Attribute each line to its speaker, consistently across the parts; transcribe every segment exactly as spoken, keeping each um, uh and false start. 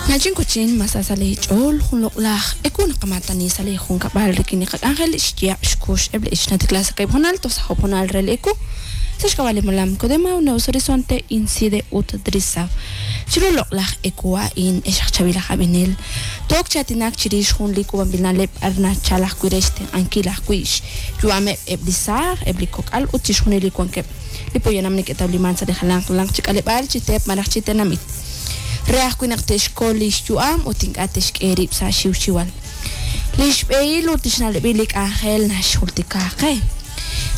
Speaker 1: Nachin kuchin masasale ch'ol jun loq'laj eku naqamatani sa li junkab'al rik'in li qak'anjel xyaab' xkux eb' li ixnatikla sa k'ib' honal toj sa job honal re li eku sa xk'ab'a' li molam Codema Nuevos Horizonte Incide ut Drisaw chiru loq'laj eku a'in ex aj chab'il aj ab'inel took chatinak chirix jun li k'uub'anb'il na'leb' ar nachal ajwi' re xtenq'ankil ajwi' xyu'ameb' eb' li saaj eb' li kok'al ut chixjunil li wankeb' li poyanam neke'tawliman sa' li jalanq jalanq chi k'aleb'aal chi teep malaj chi tenamit re ajwi' naq te'xkol li xyu'am ut ink'a' te'xk'e rib' sa' xiwxiwal li xb'ehil ut li xna'leb'il li k'anjel naxjultika qe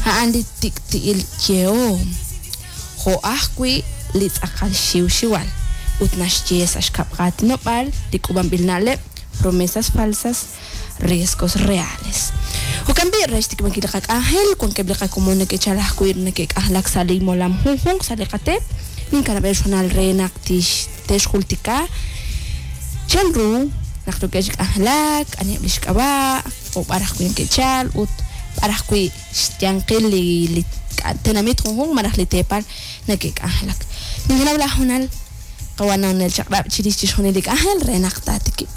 Speaker 1: a'an li tik'ti'il yehom jo' ajwi' li tz'aqal xiwxiwal ut naxye sa' xkab' qaatinob'aal li k'uub'anb'il na'leb' promesas falsas riesgos reales. Jo'kan b'i' re xtikb'ankil li qak'anjel wankeb' li qakomon neke'chal ajwi' neke'k'anjelak sa' li molam junjunq sa' li qateep ninkanab'el xhonal re naq tix te'xjultika chan ru naq yookeb' chi k'anjelak aniheb' li xk'ab'a' o b'ar ajwi' neke'chal ut b'ar ajwi' xyanqil li li tenamit junjunq malaj li teepal neke'k'anjelak. Ninkanab' laj honal qawananel chaq'rab' chirix chixjunil li k'anjel re naq taatikib'.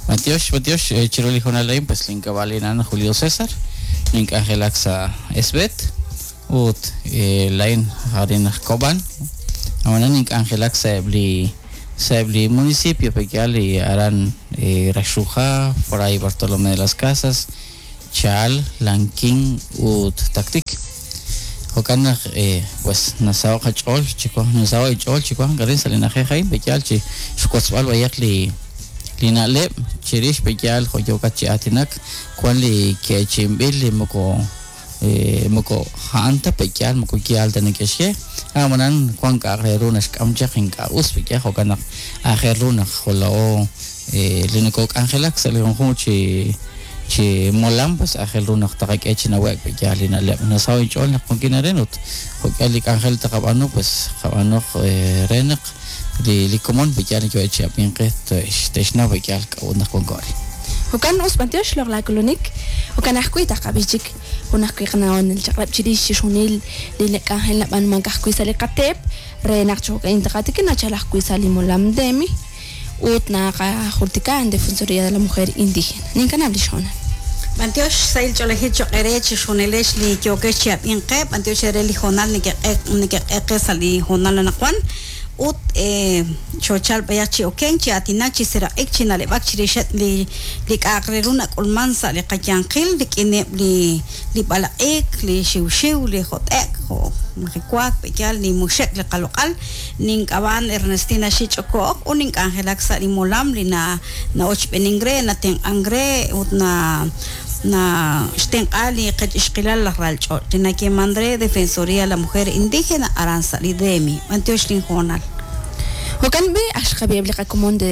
Speaker 2: Matiox, Matiox, eh, chiru li honal a'in, pues link'ab'a'lin Julio César, nink'anjelak sa' Esbet, ut eh, lain arin aj Koban, ab'anan nink'anjelak sa' eb' li sa' eb' li municipio pekyal li aran eh, Raxruhá, Fray Bartolomé de las Casas, Chal, Lanquín ut Taktik. Jo'kan naq eh, pues nasaho' qach'ool chiwan nasaho' inch'ool chiwan arin sa' li na'ajej a'in pekyal chi xwotzb'al b'ayaq li li na'leb' chirix pekyal jo' yookat chi aatinak wan li ke'chimb'il li moko eh, moko a'an ta pekyal moko yaal ta neke'xye ab'anan wan k'a'aq re ru naxk'am chaq ink'a' us pekyal jo'kan naq aajel ru naq jola'o eh, li nokok'anjelak sa' li junjunq chi chi molam pues aajel ru naq taqak'e chi nawe'k pekyal li na'leb' nasaho' inch'ool naq wankin arin ut jo'k'ihal li k'anjel taqab'aanu pues qab'anuq eh, re naq li li komon pekyal yo'e chi ab'inqe te'xnaw pekyal k'a'ut naq wanko arin.
Speaker 1: Jo'kan us b'antiox loq' k'ulunik jo'kan ajwi' taqab'i chik jun ajwi' qana'onel chaq'rab' chirix chixjunil li k'anjel nab'anumank ajwi' sa' li qateep re naq cho'q'in taqatikin nachal ajwi' sa' li molam DEMI ut naqajultika en Defensoría de la Mujer Indígena. Ninkanab' li xhonal.
Speaker 3: B'antiox sahil ch'oolejil choq'ere chixjunilex li yookex chi ab'inqe b'antiox re li honal neke'q'e neke'q'eqe sa' li honal anaqwan ut eh, xochal b'ayaq chi oken chi aatinak chi seraq'ik chi na'leb'ak chirixeb' li li k'a'aq re ru nak'ulman sa' li qayanqil rik'ineb' li li b'alaq'ik li xiwxiw li jot'ek jo' majiwaak pekyal li muxek li qaloq'al nink'ab'an Ernestina Xich'oko'ok ut nink'anjelak sa' li molam li na na'ochb'enin re natenq'an re ut na na xtenq'a li qech ixqilal laj ralch'och' li nakeman re Defensoría de la Mujer Indígena aran sa' li DEMI b'antiox linhonal.
Speaker 1: Jo'kan b'i aj xqab'i eb' li qakomon de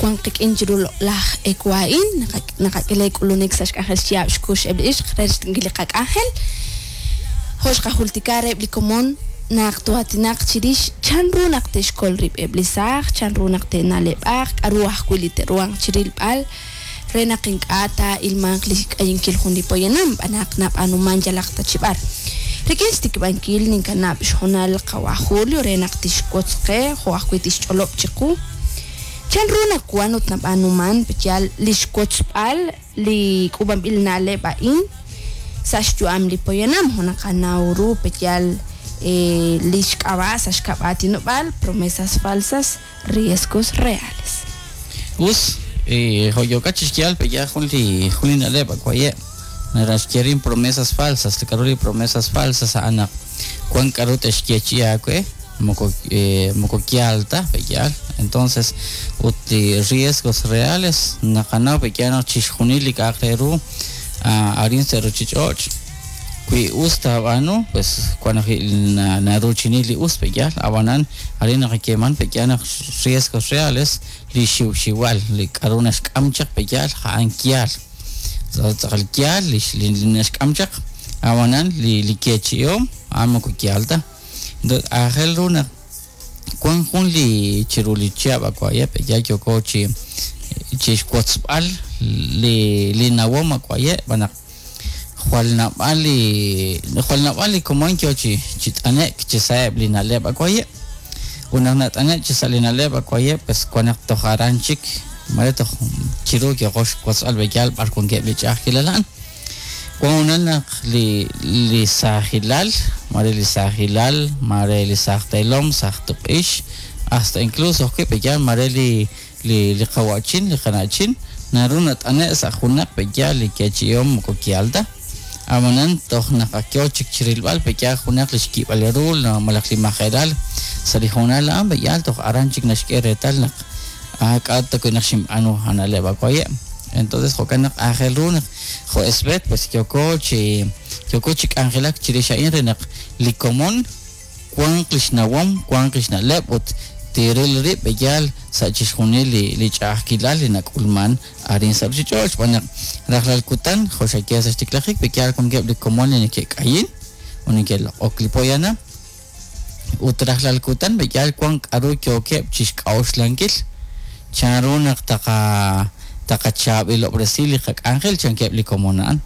Speaker 1: wan qik'in chiru laj eku a'in naqak'e k'ulunik sa' xk'anjel xyaab' xkux eb' li ixq re xtenq'ankil li qak'anjel jo' xqajultika re eb' li komon naq toatinaq chirix chan ru naq te'xkol rib' eb' li saaj chan ru naq te'na'leb'aq k'aru ajwi' li te'ruhanq chirilb'al re naq ink'a' taa'ilmanq li k'ayinkil jun li poyanam b'anaq nab'anuman yalaq ta chi b'ar. Rik'in xtikb'ankil ninkanab' xhonal qawa Julio re naq tixwotz qe jo' ajwi' tixch'olob' chiqu chan ru naq wan ut nab'anuman pekyal li xwotzb'al li k'uub'anb'il na'leb' a'in sa' xyu'am li poyanam jo' naqanaw ru pekyal eh, li xk'ab'a' sa' xkab' aatinob'aal promesas falsas riesgos reales.
Speaker 2: Us eh, jo' yookat chi xyal pekyal jun li jun li na'leb' akwaye' naraxyerin promesas falsas li k'aru li promesas falsas a'an naq wan k'aru te'xyeechi'i aawe moko eh, moko yaal ta pekyal entonces ut li riesgos reales naqanaw pekyal naq chixjunil li k'a'aq re ru arin sa' ruchich'och' wi us taab'aanu pues wan ajwi' naruchini li us pekyal ab'anan arin naqakeman pekyal naq riesgos reales li xiwxiwal li k'aru naxk'am chaq pekyal ja'an yaal tz'aqal yaal li naxk'am chaq ab'anan li li kechi'om a'an moko yaal ta aajel ru naq wan jun li chiru li chihab' akwaye' pekyal yooko chi chi xwotzb'al li li nawom akwaye' b'anaq jwal nab'al li jwal nab'al li komon yo chi chi t'anek chi sa'eb' li na'leb' akwaye' Ut naq nat'ane' chi sa' li na'leb' akwaye' pues wan naq toj aran chik mare toj chiru yoqo xwotzb'al b'eyal b'ar wankeb' li ch'a'ajkilal a'an. Wan honal naq li li saajilal, mare li saajilal, mare li saaj teelom, saaj tuq'ix, hasta incluso ajwi' b'eyal mare li li li qawa'chin, li qana'chin, naru nat'ane' sa' junaq b'eyal li yeechi'ihom moko kial ta. Ab'anan toj naq ak yoo chik chirilb'al b'eyal junaq li xkib'al ru malaj li majelal sa' li hoonal a'an b'eyal toj aran chik naxk'e reetal naq ah k'a' ta wi' naq xinb'aanu a na'leb' akwaye'. Entonces jo'kan naq aajel ru naq jo' SBET pues yooko chi yooko chi k'anjelak chirix a'in re naq li komon wanq li xnawom, wanq li xna'leb' ut tiril rib' b'eyal sa' chixjunil li li ch'a'ajkilal li nak'ulman arin sa' ruchich'och' xb'aan naq rajlal kutan jo' xaye sa' xtiklajik b'eyal wankeb' li komon li neke'k'ayin ut neke'loq'ok li poyanam ut rajlal kutan b'eyal wan k'aru yookeb' chixk'a'uxlankil chanru naq taqa taqachaab'ilob'resi li qak'anjel chankeb' li komon a'an.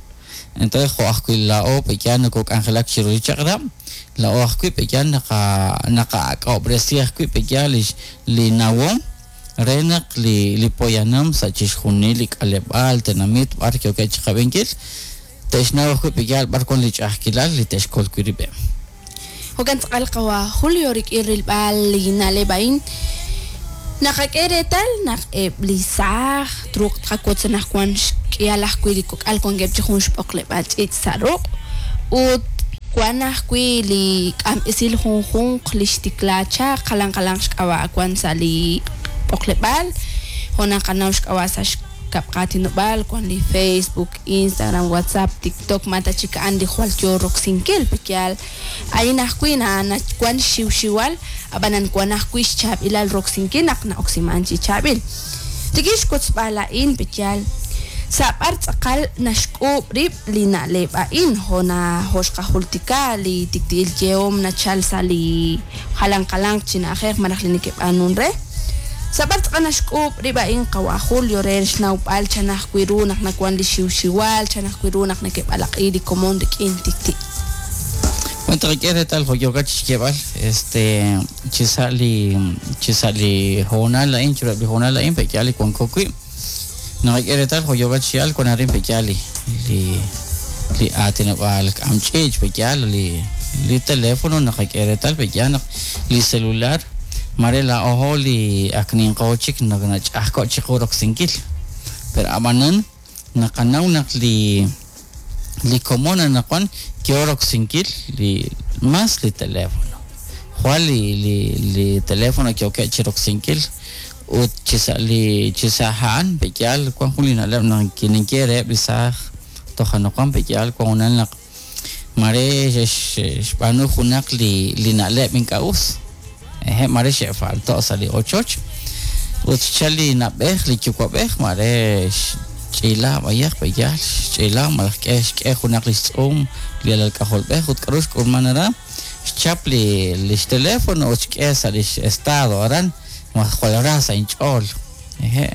Speaker 2: Entonces jo' ajwi' laa'o b'eyal nokok'anjelak chiru li chaq'rab', laa'o ajwi' b'eyal naqa naqak'ob'resi ajwi' b'eyal li li nawom re naq li li poyanam sa' chixjunil li k'aleb'aal tenamit b'ar yookeb' chiqab'inkil te'xnaw ajwi' b'eyal b'ar wan li ch'a'ajkilal li te'xkol wi' rib'eb'.
Speaker 1: Jo'kan tz'aqal qawa Julio rik'in rilb'al li na'leb' a'in naqak'e reetal naq eb' li saaj truuq tqawotz anaqwan xk'ihal ajwi' li kok'al wankeb' chi jun xb'oqleb'aal ch'iich' sa' ruq' ut wan ajwi' li k'amb'esil junjunq li xtikla chaq jalan jalanq xk'ab'a' wan sa' li b'oqleb'aal jo' naqanaw xk'ab'a' sa' xkab' qaatinob'aal wan li Facebook, Instagram, WhatsApp, TikTok ma ta chik a'an li jwal yoo roksinkil pekyal a'in ajwi' na wan xiwxiwal ab'anan wan ajwi' xchaab'ilal roksinkil naq na'oksiman chi chaab'il. Rik'in xwotzb'al a'in pekyal sa' b'ar tz'aqal naxk'uub' rib' li na'leb' a'in jo' na jo' xqajultika li tikti'il yehom nachal sa' li jalan jalanq chi na'ajej malaj li neke'b'aanun re. Sa' b'ar tz'aqal naxk'uub' rib' a'in qawa Julio re xnawb'al chan ajwi' ru naq nawan li xiwxiwal, chan ajwi' ru naq neke'b'alaq'i li komon rik'in tikti'.
Speaker 2: Bueno, taqak'e reetal jo' yookat chixyeeb'al, este chi sa' li chi sa' li hoonal a'in chiruheb' li hoonal a'in pe'yaal li wanko wi'. Naqak'e reetal jo' yookat chixyeeb'al wan arin pe'yaal li li li aatinob'aal k'am ch'iich' pe'yaal li li teléfono naqak'e reetal pe'yaal naq li celular mare laa'ojo li ak ninqo chik naq nach'ajko' chiqu roksinkil. Pero ab'anan naqanaw naq li li komon anaqwan yoo roksinkil li más li teléfono. Jwal li li li teléfono yookeb' chiroksinkil ut chi sa' li chi sa' a'an pe'yaal wan jun li na'leb' naq ninye reheb' li saaj toj anaqwan pe'yaal wan honal naq mare xb'aanu junaq li li na'leb' ink'a' us. Eje mare xe'falto' sa' li ochoch ut xchal li na'b'ej li yuwa'b'ej mare xch'iila b'ayaq pe'yaal xch'iila malaj k'e xk'e junaq li xtz'uum li alal k'ajolb'ej ut k'aru xk'ulman aran xchap li li xteléfono ut xk'e sa' li estado aran ma jwal ra sa' inch'ool. Eje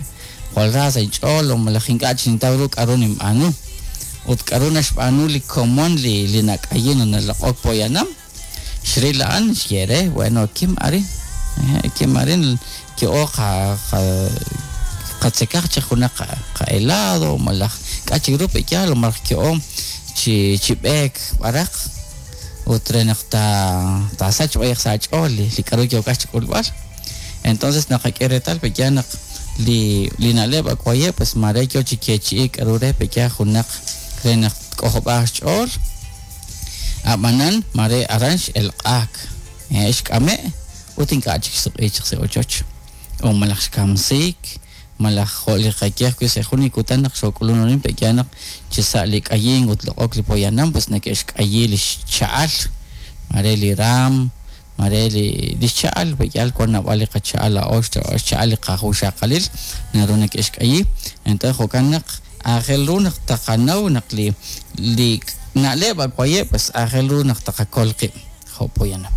Speaker 2: jwal ra sa' inch'ool o malaj ink'a' chintaw ru k'aru ninb'aanu ut k'aru naxb'aanu li komon li li nak'ayin ut naloq'ok poyanam xril a'an xye re bueno kim arin eje kim arin ki'o qa qa qatzekaj chi junaq qa helado malaj k'a chik ru pe'yaal o malaj ki'o chi chi b'eek b'araq ut re naq ta taasach b'ayaq sa' ach'ool li li k'aru yookat chik'ulb'al. Entonces naqak'e reetal pe'yaal naq li li na'leb' akwaye' pues mare yoo chi yeechi'i k'aru re pe'yaal junaq re naq tk'ojob'aaq xch'ool ab'anan mare aran x'elq'aak xk'ame' ut ink'a' chik xsuq'i chaq sa' ochoch o malaj xkamsiik malaj jo' li qaye ajwi' sa' jun li kutan naq xok'ulun arin pe'yaal naq chi sa' li k'ayin ut loq'ok li poyanam pues neke'xk'ayi li xcha'al mare li raam mare li li xcha'al pe'yaal wan naab'al li qacha'al laa'o xcha'al li qajuxaqalil naru neke'xk'ayi. Entonces jo'kan naq aajel ru naq taqanaw naq li li na'leb' akwaye' pues aajel ru naq taqakol qib' jo' poyanam.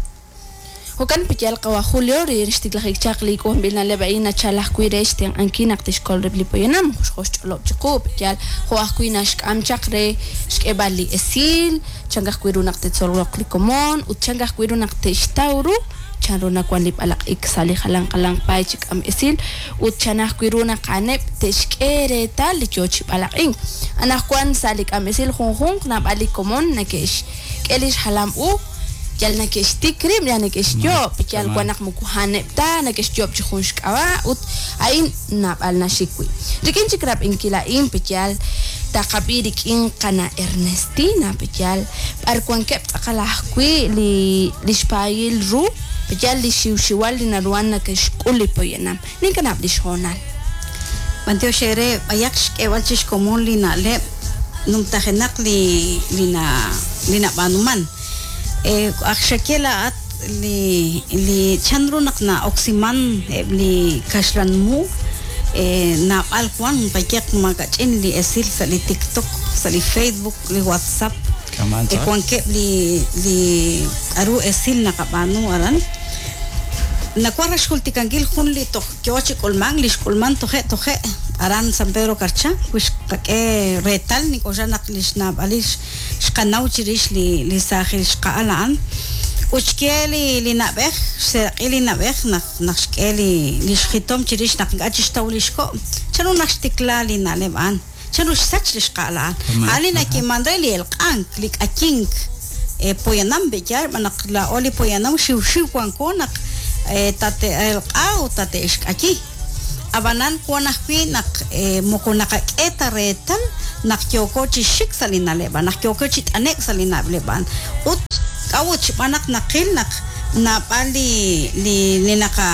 Speaker 1: Jo'kan pe'yaal qawa Julio ri xtiklajik chaq li k'uub'anb'il na'leb' a'in nachal ajwi' re xtenq'ankil naq tixkol rib' li poyanam jo' xch'olob' chiqu pe'yaal jo' ajwi' naxk'am chaq re xk'eeb'al li esil chan ajwi' ru naq te'tzoloq li komon ut chan ajwi' ru naq te'xtaw ru chanru nawan li b'alaq'ik sa' li jalan jalanq paay chi k'am esil ut chan ajwi' ru naq a'aneb' te'xk'e reetal li yoo chi b'alaq'ink. Anaqwan sa' li k'am esil junjunq naab'al li komon nake'xk'e li xjalam u yal nake'xtik rib', yal nake'xyoob', yal wan naq moko a'aneb' ta, nake'xyoob' chi jun xk'ab'a' ut a'in naab'al naxik wi'. Rik'in chik rab'inkil a'in, peyal taqab'i rik'in qana Ernestina, peyal b'ar wankeb' tz'aqal ajwi' li li xpaayil ru, peyal li xiwxiwal li naruhan nake'xk'ul li poyanam. Ninkanab' li xhoonal.
Speaker 3: B'antiox ere b'ayaq xk'eeb'al chi xkomon li na'leb' numtajenaq li li na li nab'aanuman. Eh, aj xaye laa'at li li chanru naq na'oksiman eb' li kaxlan mu eh, naab'al wan b'ayaq makach'in li esil sa' li TikTok, sa' li Facebook, li WhatsApp.
Speaker 2: Kaman
Speaker 3: Eh,
Speaker 2: tz'aqal.
Speaker 3: wankeb' li li k'aru esil naqab'aanu aran. Nawan xjultikankil jun li toj yoo chi k'ulman, li xk'ulman toje' toje' aran San Pedro Carchá, wix qak'e reetal nik'oxla naq li xnaab'alil xqanaw chirix li li saajil xqa'al a'an. Ut xk'e li li na'b'ej, xseeraq'i li na'b'ej naq naq xk'e li li xjitom chirix naq ink'a' chixtaw li xko'. Chanru naq xtikla li na'leb' a'an, chanru xsach li xqa'al a'an.
Speaker 2: Kaman.
Speaker 3: A'an li nakiman re li elq'ank, li k'ayink, eh, poyanam b'eyal, b'an naq laa'o li poyanam xiwxiw wanko naq eh, tate'elq'a ut tate'xk'ayi. Ab'anan wan ajwi' naq eh, moko naqak'e ta reetal naq yooko chi xik sa' li na'leb' a'an, naq yooko chi t'anek' sa' li na'leb' a'an. Ut k'a'ut xb'aan naq naqil naq naab'al li li li naqa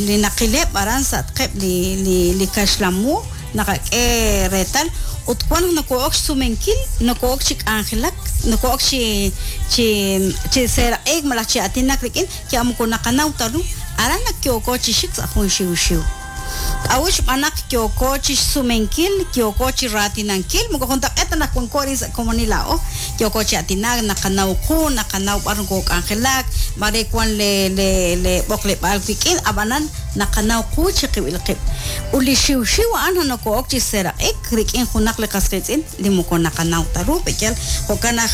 Speaker 3: li naqileb' aran sa'atqeb' li li li kaxlamu naqak'e reetal ut wan naq noko'ok xsumenkil, noko'ok chi k'anjelak, noko'ok chi chi chi seeraq'ik malaj chi aatinak rik'in ya moko naqanaw ta ru aran naq yooko chi xik sa' jun xiwxiw. K'a'ut xb'aan naq yooko chi xsumenkil, yooko chi raatinankil, moko juntaq'eet ta naq wanko arin sa' komonil laa'o, yooko chi aatinak, naqanaw qu, naqanaw b'ar nokok'anjelak, mare wan le le le b'oqleb'aal wik'in, ab'anan naqanaw qu chiqib'il qib'. Ut li xiwxiw a'an noko'ok chi seeraq'ik rik'in junaq li qas qiitz'in li moko naqanaw ta ru, b'eyal jo'kan naq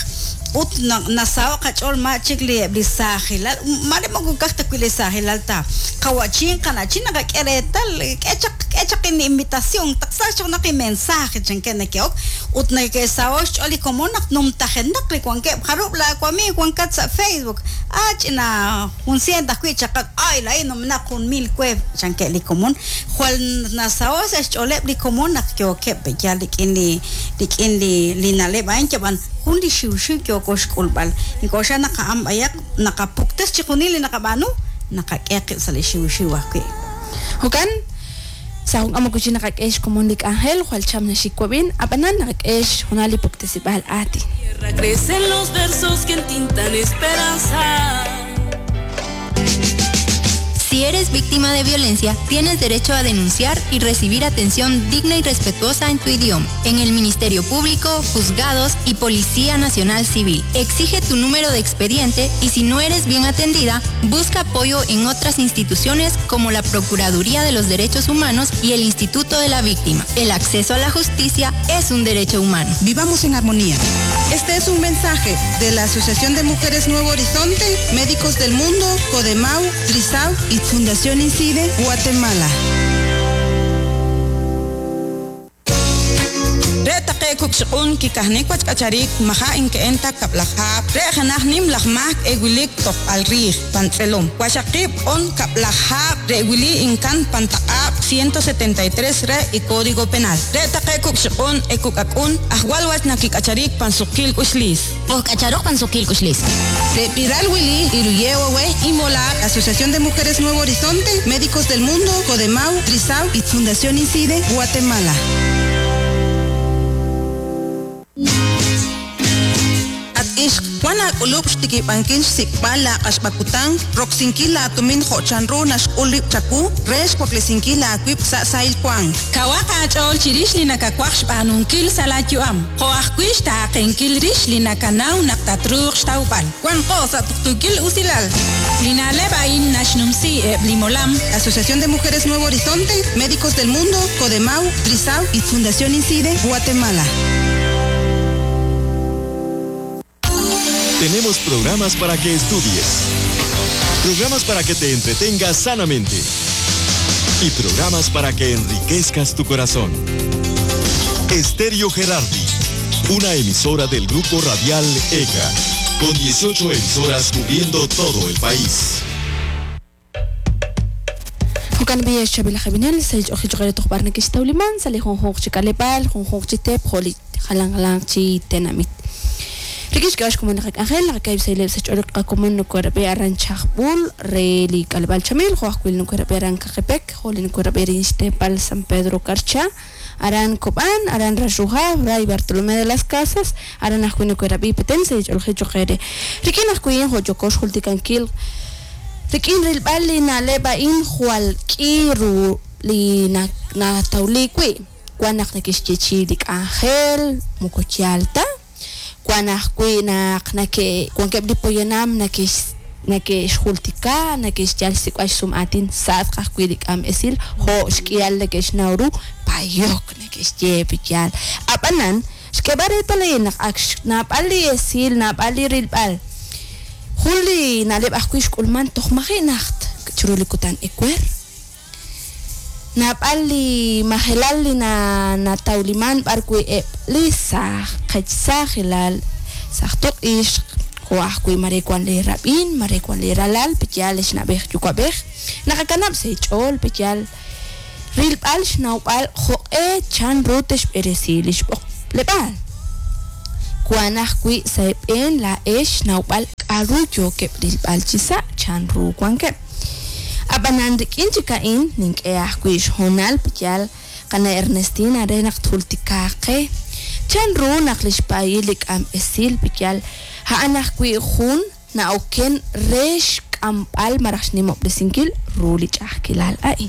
Speaker 3: ut na- nasaho' qach'ool ma chik li eb' li saajilal, mare moko kaj ta wi' li saajilal ta. Qawachin, qanachin naqak'e reetal, k'e chaq k'e chaq in invitación, taqsa chaq naq mensaje chanke nake'ok, ut nake'saho' xch'ool li komon naq numtajenaq li wankeb' jarub' la wamiig wankat sa' Facebook. Ah, ch'ina jun cien ajwi' chaqat, ay, laa'in numenaq jun mil we chanke li komon. Jwal nasaho' sa' xch'ooleb' li komon naq yookeb' b'eyal rik'in li rik'in li li na'leb' a'in yab'an jun li xiwxiw yooko xk'ulb'al. Ink'oxla naq a'an b'ayaq naqapuktes chi junil li naqab'aanu, naqak'e qib' sa' li xiwxiw ajwi'.
Speaker 1: Jo'kan, sa' jun k'amok chi naqak'e xkomon li k'anjel, jwal cham naxik wab'in, ab'anan naqak'e xjunal li puktesib'al aatin.
Speaker 4: Tierra crecen los versos que entintan esperanza.
Speaker 5: Si eres víctima de violencia, tienes derecho a denunciar y recibir atención digna y respetuosa en tu idioma, en el Ministerio Público, juzgados y Policía Nacional Civil. Exige tu número de expediente y si no eres bien atendida, busca apoyo en otras instituciones como la Procuraduría de los Derechos Humanos y el Instituto de la Víctima. El acceso a la justicia es un derecho humano.
Speaker 6: Vivamos en armonía. Este es un mensaje de la Asociación de Mujeres Nuevo Horizonte, Médicos del Mundo, Codemau, Trisau y Fundación Incide, Guatemala.
Speaker 7: Re taqe kukxiq'un kikajnik wachk'acharik maja inke'enta kab'lajab' re janaj nim laj mak ewilik tojb'al riij pantz'elom waxaqib' on kab'lajab' re wili inkan pantaq'ab' ciento setenta y tres re y Código Penal re taqe kukxiq'un ekuk'ak'un ajwal wach nakik'acharik pansuqil k'uxlis
Speaker 5: Ojk'acharoj pansuqil k'uxlis.
Speaker 6: De Piral Willy, Iruyewe, Imola, Asociación de Mujeres Nuevo Horizonte, Médicos del Mundo, Codemau, Trisau y Fundación Incide, Guatemala. At ixq wan aak'ulub' xtikib'ankil xsik'b'al laaq'axb'akutan, roksinkil laatumin jo'chanru naxk'ul rib' chaku, re xwaklesinkil aawib' sa' sahil wank.
Speaker 7: Kawaq aach'ool chirix li nakawaj xb'aanunkil sa' laayu'am, jo' ajwi' xtaaqenkil rix li nakanaw naq tatruuq xtawb'al. Wanqo sa' tuqtuukil usilal. Li na'leb' a'in naxnumsi eb' li molam.
Speaker 6: Asociación de Mujeres Nuevo Horizonte, Médicos del Mundo, Codemau, Trisau y Fundación Incide, Guatemala.
Speaker 8: Tenemos programas para que estudies. Programas para que te entretengas sanamente. Y programas para que enriquezcas tu corazón. Estéreo Gerardi, una emisora del grupo radial E C A, con dieciocho emisoras cubriendo todo el país.
Speaker 1: Jokan bi xabila jabinel sel oji chogere toxbar nakixtawliman sali junjunq chi k'aleb'aal junjunq chi teep jo' li jalan jalanq chi tenamit. Rikish k'ax como naqak'anjel naqakayb sayleb sa ch'olok qakomon nukorab'i aran chajb'ul re li k'aleb'aal chamil jo' ajwil nukorab'i aran kaqepek jo' li nukorab'i rin xtepal San Pedro Carchá aran Cobán aran Raxruja Fray Bartolomé de las Casas aran ajwil nukorab'i Petén sa ch'olji choqere rikin ajwil jo' yokox jultikankil rikin rilb'al li na'leb' a'in jwal k'i ru li natawli wi' wan naq nakixyechi li k'anjel moko yaal ta wan ajwi' naq nake wankeb' li poyanam nakex nakexjultika nakexyal xsik'b'al xsum'aatin sa'atq ajwi' li k'am esil jo' xk'ihal nakexnaw ru payok nakexye piyal ab'anan xk'eb'al reetal naq ak naab'al li esil naab'al li rilb'al jun li na'leb' ajwi' xk'ulman toj maji' najt chiru li kutan ewer naab'al li majelal li na natawliman b'ar wi' eb' li saj qechsajilal saj toq'ixq jo' ajwi' mare wan li rab'in mare wan li ralal piyal xnab'ej yuwa'b'ej naqakanab' sa ch'ool piyal rilb'al xnawb'al jo'q'e chan ru texb'eresi li xb'oqleb'aal wan ajwi' sa eb'en la'ex xnawb'al k'aru yookeb' rilb'al chi sa' chan ru wankeb' ab'anan rik'in chik a'in nink'e ajwi' xhoonal piyal qana Ernestina re naq tjultikaaqe chan ru naq li xpaayil li k'am esil piyal a'an ajwi' jun na'oken re xk'amb'al maraj xnimob'resinkil ru li ch'a'ajkilal a'in.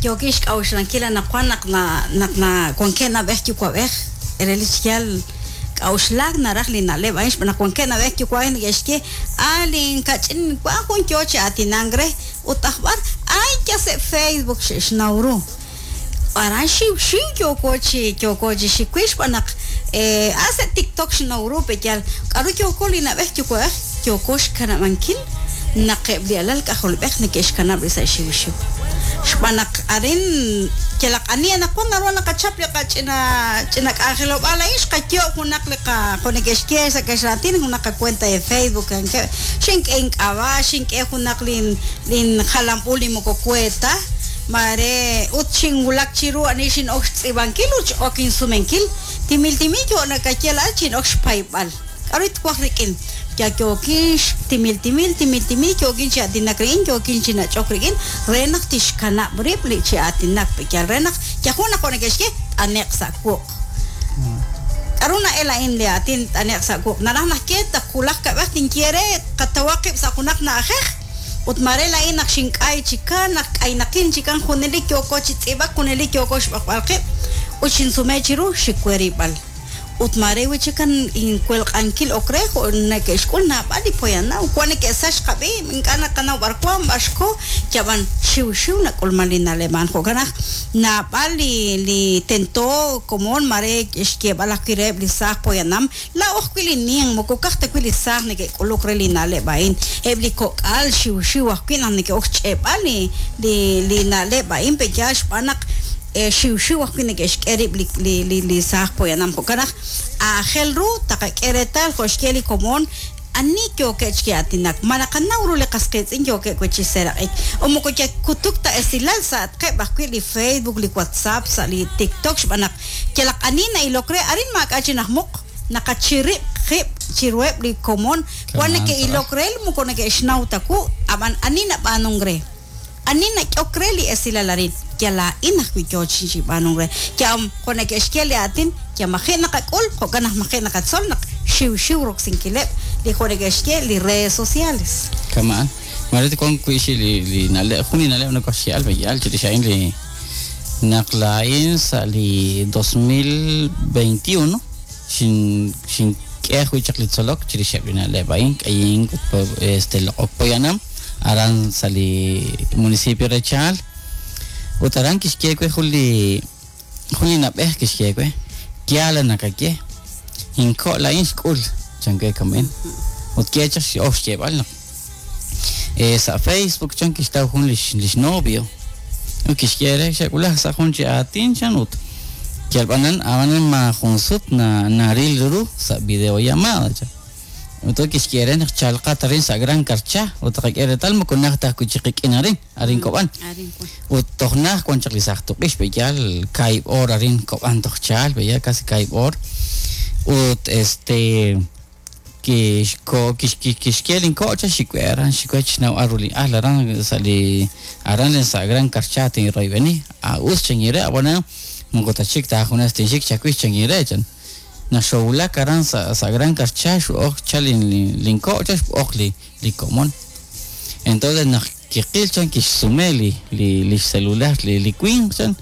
Speaker 3: Yookix k'a'uxlankil anaqwan naq na naq na wankeb' nab'ej yuwa'b'ej re li xyal k'a'uxlak naraj li na'leb' a'in xb'aan naq wankeb' nab'ej yuwa'b'ej neke'xye a linkach'in wan jun yoo chi aatinank re ut ajb'ar ay ya sa' Facebook xe'xnaw ru aran xiw xiw yooko chi yooko chi xiwix xb'aan naq eh a sa' TikTok xnaw ru peyal k'aru yooko li nab'ej yuwa'b'ej yooko xkanab'ankil naq eb' li alal k'ajolb'ej neke'xkanab' li sa' xiw xiw xb'aan naq arin yalaq ani anaqwan naru naqachap li qach'ina ch'ina k'anjelob'aal a'in xqayo' junaq li qa jo' neke'xye sa' kaxlaatin junaq qacuenta de Facebook ankeb' xink'e ink'ab'a' xink'e junaq lin lin jalanb'ul li moko kueta mare ut xinwulak chiru ani xin'ok xtz'ib'ankil ut x'ok insumenkil timil timil yo nakaye la'al xin'ok xpayb'al k'aru twaj rik'in ya yookin timil timil timil timil yookin chi aatinak rik'in yookin chi nach'ok rik'in re naq tixkanab' rib' li chi aatinak peyal re naq yajun naq jo' neke'xye t'ane'q sa' wuq' k'aru na'el a'in li aatin t'ane'q sa' wuq' naraj naq ye taq wulaj kab'ej tinye re qatawaq qib' sa' junaq na'ajej ut mare la'in naq xink'ay chikan naq k'aynaqin chikan junelik yooko chi tz'ib'ak junelik yooko xb'aqb'al qib' ut xinsume chiru xikwerib'al ut mare wi chikan inkuelq'ankil ok re jo' neke'xk'ul naab'al li poyanam wan neke'sax qab'i ink'a' naqanaw b'ar wan b'ar xko yab'an xiw xiw nak'ulman li na'leb' a'an jo'kan naq naab'al li li tento komon mare xyeeb'al ajwi' reheb' li saaj poyanam la'o ajwi' li nin moko ka'aj ta wi' li saaj neke'k'uluk re li na'leb' a'in eb' li kok'al xiw xiw ajwi' naq neke'ok xch'eeb'al li li li na'leb' a'in peyaal xb'aan naq xiw xiw ajwi' neke'xk'e rib' li li li li saaj poyanam jo'kan naq aajel ru taqak'e reetal jo' xye li komon ani yookeb' chi aatinak ma naqanaw ru li qas qiitz'in yookeb' wi' chi seeraq'ik o moko yakutuk ta esilal sa'atqeb' ajwi' li Facebook li WhatsApp sa' li TikTok xb'aan naq yalaq ani na'ilok re arin maak'a' chi najmuq naqachirib' qib' chiruheb' li komon wan neke'ilok re moko neke'xnaw ta wu ab'an ani nab'aanunk re ani nak'ok re li esilal arin ya la'in ajwi' yoo chi b'aanunk re ya jo' neke'xye li aatin ya maji' naqak'ul jo'kan naq maji' naqatzol naq xiw xiw roksinkileb' li jo' neke'xye li redes sociales
Speaker 2: kama'an mare wan wi' xi li li na'leb' jun li na'leb' nakoxye'al b'eyal chirix a'in li naq la'in sa' li dos mil veintiuno xin xink'e ajwi' chaq li tzolok chirixeb' li na'leb' a'in k'ayink ut este loq'ok poyanam aran sa' li municipio re Chaal ut aran kixye we jun li jun li nab'ej kixye we yaal naqaye inko' la'in xk'ul chan we kamen ut kye chaq x'ok xyeeb'al naq Sa' Facebook chan kixtaw jun lix lix novio. Ut kixye re xe'wulaj sa' jun chi aatin chan ut yalb'anan abanan ma jun sut na naril ru sa' videollamada chan. Ut kixye re naq chalqat arin sa' Gran Carchá ut qak'e reetal moko naj taj kuchiqik'in arin arin Kob'an. Ut toj naj wan chaq li saj tuq'ix b'eyal kaib' or arin Kob'an toj chal b'eyal casi kaib' or. Ut este kixko kixkye linko' cha xikwe aran xikwe chnaw aru li ajl aran sa' li aran sa' Gran Carchá tinroyb'eni a us chanire ab'ana moko tachik taajunes tinxik chawix chanire chan. Naq xowulak aran sa' sa' Gran Carchá xu'oj cha linko' cha xb'oq li li komon. Entonces naq kiqil chan kixsume li li li celular li li winq chan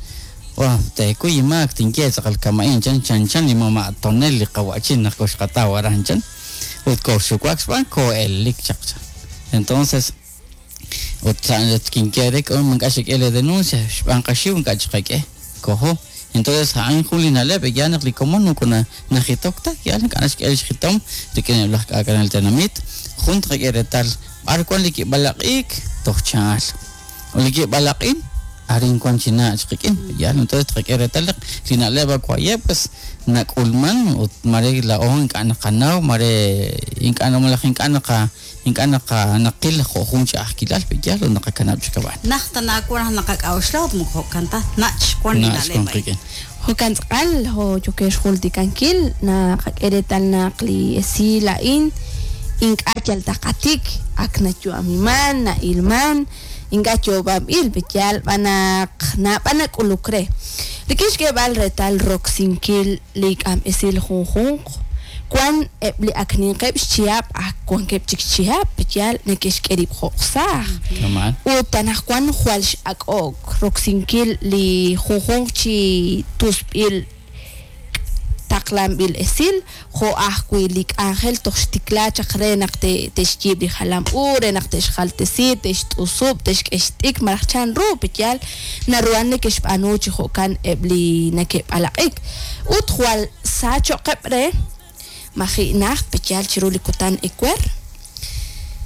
Speaker 2: wa tekuy imaak tinye tz'aqal kama'in chan chan chan li mama' tonel li qawa'chin naq koxqataw aran chan ut koxuwak xb'aan ko'elik chaq chan. Entonces ut kinye re k'o man k'a xik'e le denuncia xb'aan qaxiw nk'a chiqak'e kojo. Entonces ha'an jun li na'leb' ya naq li komon moko najitok ta ya nk'a naxk'e li xitom rik'in laj k'ak'anel tenamit jun tqak'e reetal b'ar wan li kib'alaq'iik toj chaal o li kib'alaq'in arin wan chi nach qik'in ya entonces tqak'e reetal li na'leb' awayeb' pues nak'ulman ut mare la'o ink'a' naqanaw mare ink'a' malaj ink'a' naqa ink'a' naqa naqil jo' jun ch'a'ajkilal b'eyal ut naqakanab' chi kab'an.
Speaker 3: Naj tanaakwan naqak'a'uxla ut moko jo'kan ta nach wan li na'leb' a'in.
Speaker 1: Jo'kan tz'aqal jo yokex jultikankil naqak'e reetal naq li esil a'in ink'a' yal taqatik ak nayu'amiman na'ilman ink'a' yoob'anb'il b'eyal b'anaq nab'an nak'uluk re. Rik'in xk'eeb'al reetal roksinkil li k'am esil junjunq wan eb' li ak ninqeb' xchihab' ak wankeb' chik xchihab' b'eyal neke'xk'e rib' jo'qsaaj. Ut anaqwan jwal x'ak'ok roksinkil li junjunq chi tusb'il taqlanb'il esil jo' ajwi' li k'anjel toj xtikla chaq re naq te'xyiib' li jalam u re naq te'xjaltesi te'xt'usub' te'xk'e xt'ik malaj chan ru b'eyal naruhan neke'xb'aanu chi jo'kan eb' li neke'b'alaq'ik. Ut jwal sa cho'qeb' re maji' naj b'eyal chiru li kutan ewer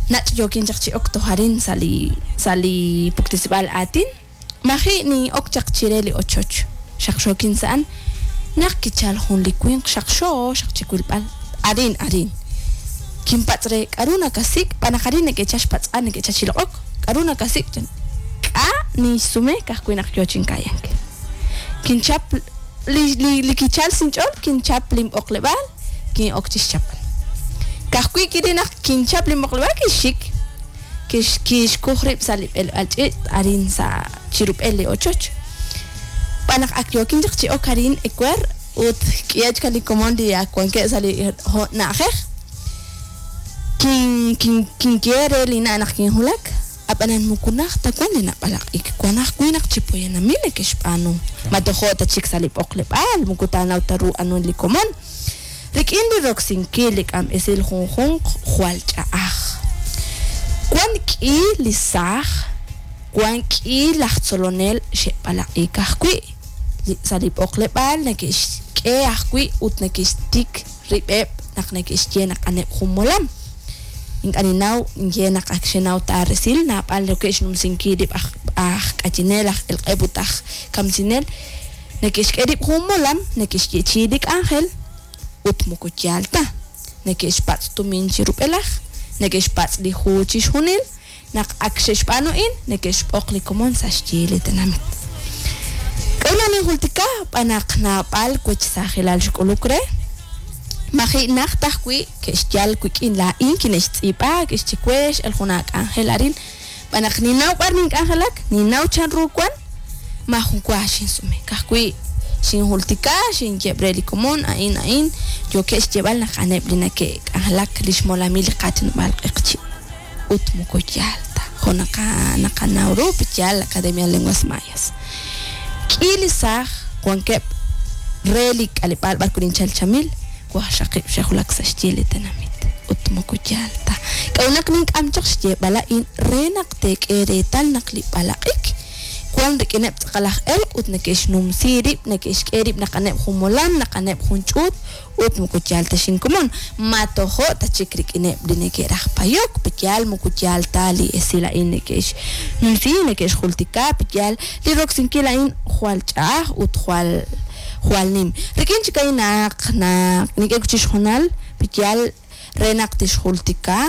Speaker 1: nach' yookin chaq chi ok toj arin sa' li sa' li puktisib'al aatin maji' ni ok chaq chire li ochoch xaqxookin sa'an naq kichal jun li winq xaqxo xaq chiwilb'al arin arin kinpatz' re k'aru nakasik' b'anaq arin neke'cha xpatz'an neke'cha chiloq'ok k'aru nakasik' chan k'a nixsume ka'ajwi' naq yo chinkayank kinchap li li li kichal sinch'ol kinchap linb'oqleb'aal kin'ok chixchapal ka'ajwi' kiri naq kinchap linb'oqleb'aal kixxik kix kixkuj rib' sa' li b'elb'al ch'iich' arin sa' chirub'el li ochoch b'anaq ak yookin chaq chi ok arin ewer ut k'iyach li komon li ak wankeb' sa' li na'ajej kin kin kinye re li na' naq kinjulak ab'anan moko naj ta wan li nab'alaq'ik wan ajwi' naq chi poyanamil neke'xb'aanu ma tojo' ta chik sa' li b'oqleb'aal moko taanaw ta ru anun li komon rik'in li roksinkil li k'am esil junjunq jwal ch'a'aj wan k'i li saaj wan k'i laj tzolonel xe'b'alaq'ik ajwi' sa' li b'oqleb'aal neke'xk'e ajwi' ut neke'xtik rib'eb' naq neke'xye naq aneb' jun molam ink'a' ninaw nye naq ak xenaw ta resil naab'al neke'xnumsinkil rib' aj aj k'achinel aj elq'eb' ut aj kamsinel neke'xk'e rib' jun molam neke'xyechi li k'anjel ut moko yaal ta neke'xpatz' tumin chi rub'elaj neke'xpatz' li hu chixjunil naq ak xe'xb'aanu in neke'xb'oq li komon sa' xyi li tenamit. K'a'ru ninjultika b'anaq naab'al wech saajilal xk'uluk re maji' naj tajwi' ke'xyal wik'in laa'in kine'xtz'iib'a ke'xchiwex el jun ak'anjel arin b'anaq ninaw b'ar nink'anjelak ninaw chan ru wan majun wa xinsume ka'ajwi' xinjultika xinyeb' re li komon a'in a'in yookeb' xyeeb'al naq aneb' li nake'k'anjelak li xmolamil li qaatinob'aal q'eqchi' ut moko yaal ta jo' naqa naqanaw ru b'eyal Academia de Lenguas Mayas. K'i li saaj wankeb' re li k'aleb'aal b'ar kuninchal chamil waxaqib' xejulak sa' xyi li tenamit ut moko yaal ta k'a'unaq nink'am chaq xyeeb'al a'in re naq teek'e reetal naq li b'alaq'ik wan rik'ineb' tz'aqal aj elq' ut neke'xnumsi rib', neke'xk'e rib' naq a'aneb' jun molam, naq a'aneb' jun ch'uut ut moko yaal ta xinkomon. Ma tojo' ta chik rik'ineb' li neke'raj payok, pe yaal moko yaal ta li esil a'in neke'xnumsi, neke'xjultika, pe yaal li roksinkil a'in jwal ch'a'aj ut jwal jwal nim. Rik'in chik a'in naq naq nik'e chixjunal, pe yaal re naq tixjultika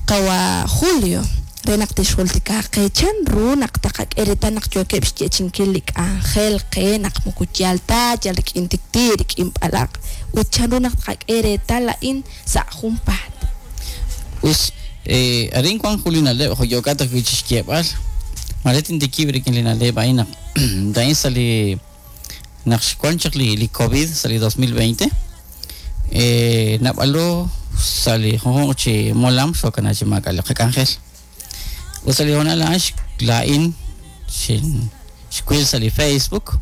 Speaker 1: qawa Julio, re naq tixjultika qe chan ru naq taqak'e reetal naq yookeb' xyeechi'inkil li k'anjel qe naq moko yaal ta, yal rik'in tikti, rik'in b'alaq', ut chan ru naq taqak'e reetal a'in sa' junpaat.
Speaker 2: Us, eh, arin wan jun li na'leb' jo' yookat ajwi' chixyeeb'al. Mare tintikib' rik'in li na'leb' a'in naq a'in sa' li naq xwan chaq li, li COVID sa' li dos mil veinte, eh, nab'alo sa' li junjunq chi molam xokana chi maak'a' li qak'anjel. Ut sa' li honal a'an laa'in xin xwil sa' li Facebook,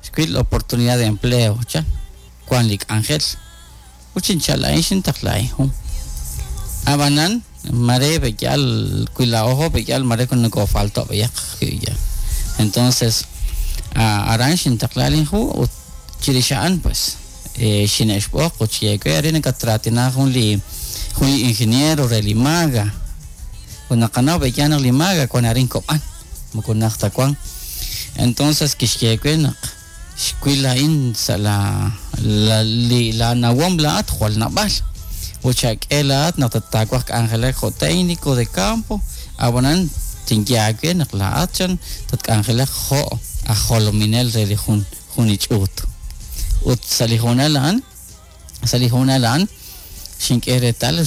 Speaker 2: xwil oportunidad de empleo, chan, wan li k'anjel. Ut xinchal a'in xintaqla a'in jun. Abanan, mare beyal, cuila ojo beyal, mare con no falto beyaq, ya. Entonces, aran xintaqla lin ju, ut chirixa'an, pues, eh, xinexb'oq, ut xyeekwe, arin nakatratina jun li, jun li ingeniero re Limaga. Ut naqanaw beyal naq Limaga, kuan arin kob'an, moko naq ta kuan. Entonces, kixyeekwe naq xwil a'in sa' la, la, li, la nawom la'at jwal nab'al. Ut xak'e la'at naq tataawaj k'anjelak jo' técnico de campo, abanan tinyaakwe naq la'at chan tatk'anjelak jo' aj jolominel re li jun, jun li ch'uut. Ut sa' li honal a'an, sa' li honal a'an, xink'e reetal